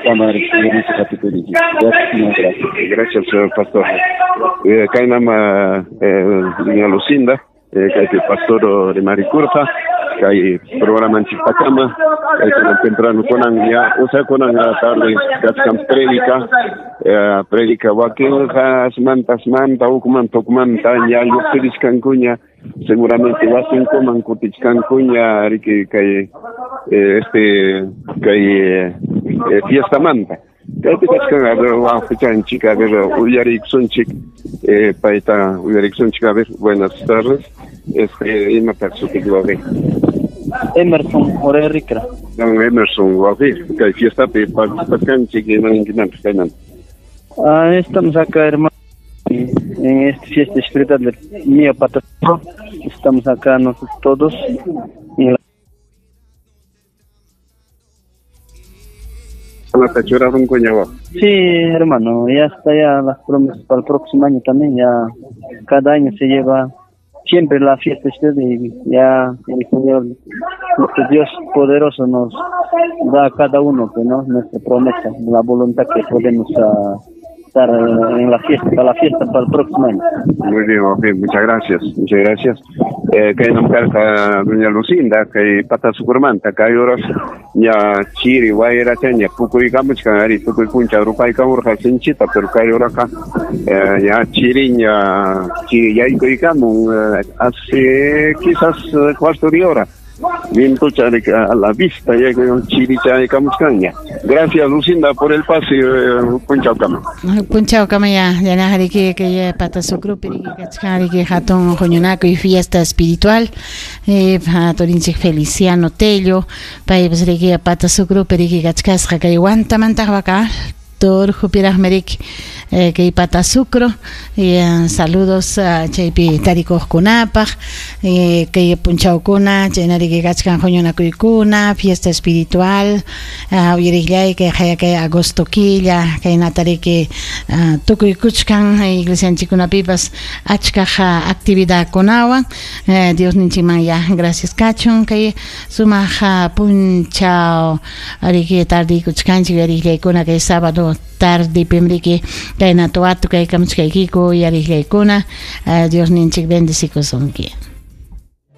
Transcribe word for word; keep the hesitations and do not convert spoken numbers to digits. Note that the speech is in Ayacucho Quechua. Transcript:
Kama gracias. Gracias, pastor. Eh, kaynam eh, doña Lucinda, eh, kaypi pastor de Maricurja, kay programanchikpakama, kay kunan temprano kunan ya, o sea kunan tarde kachkan predica, eh, predica wakinqa asmanta asmanta ukmanta ukmanta ya lluqsirichkankuña, seguramente wasinkuman kutichkankuña riki kay eh, este kay eh, fiesta manta. Kaypi kachkan a ver wawqichanchik, a ver uyariykusunchik, eh, payta uyariykusunchik, a ver, buenas tardes. Este, imataq sutiyki wawqi? Emerson Jorge Ricra. Don Emerson wawqi, kay fiestapi participachkanchik, imaninkimanpis kaymanta? Ah, estamos acá, hermano, en esta fiesta espiritual de Mía Patasucro. Estamos acá nosotros todos en la Sí, hermano, ya está ya las promesas para el próximo año también, ya cada año se lleva siempre la fiesta y ya el Señor, nuestro Dios poderoso nos da a cada uno, que no, nuestra promesa, la voluntad que podemos uh, estar en la fiesta, para la fiesta para el próximo año. Muy bien, okay, muchas gracias, muchas gracias. Eh, kay namkarqa doña Lucinda, kay Patasucromanta, kay horas ña chiri wayracha ña pukuykamuchkan ari tukuy puncha rupaykamurqa sinchita, pero kay horaqa eh, ña chiri ña chiri yaykuykamun eh, hace quizás cuarto de hora. Vientocha a la vista ya chirichaykamuchkanña. Gracias Lucinda por el pase, eh, punchawkama. Punchawkama ya, yanajariki que Patasucrupi kachkanriki hatun huñunakuy fiesta espiritual, eh, turinchik Feliciano Tello, paypas riki Patasucrupi riki kachkasqa kay Huantamantaq waka Torjupiraqmi eh, kay Patasucro, eh, saludos uh, chaypi tarikuqkunapaq, eh, kay punchawkuna chaynariki kachkan huñunakuykuna fiesta espiritual, uh, uyariqllay kay haya kay agosto killa kaynatariki uh, tukuykuchkan iglesianchikkunapipas achkaq uh, actividadkunawan, eh, Dios ninchikman ya gracias kachun kay sumaq uh, punchaw ariki tardikuchkanchik uyariqllaykuna kay sábado tarde pimriki kay natuatu kay kamuchkaykiku uyariqllaykuna, uh, Dios ninchik bendecikusunki.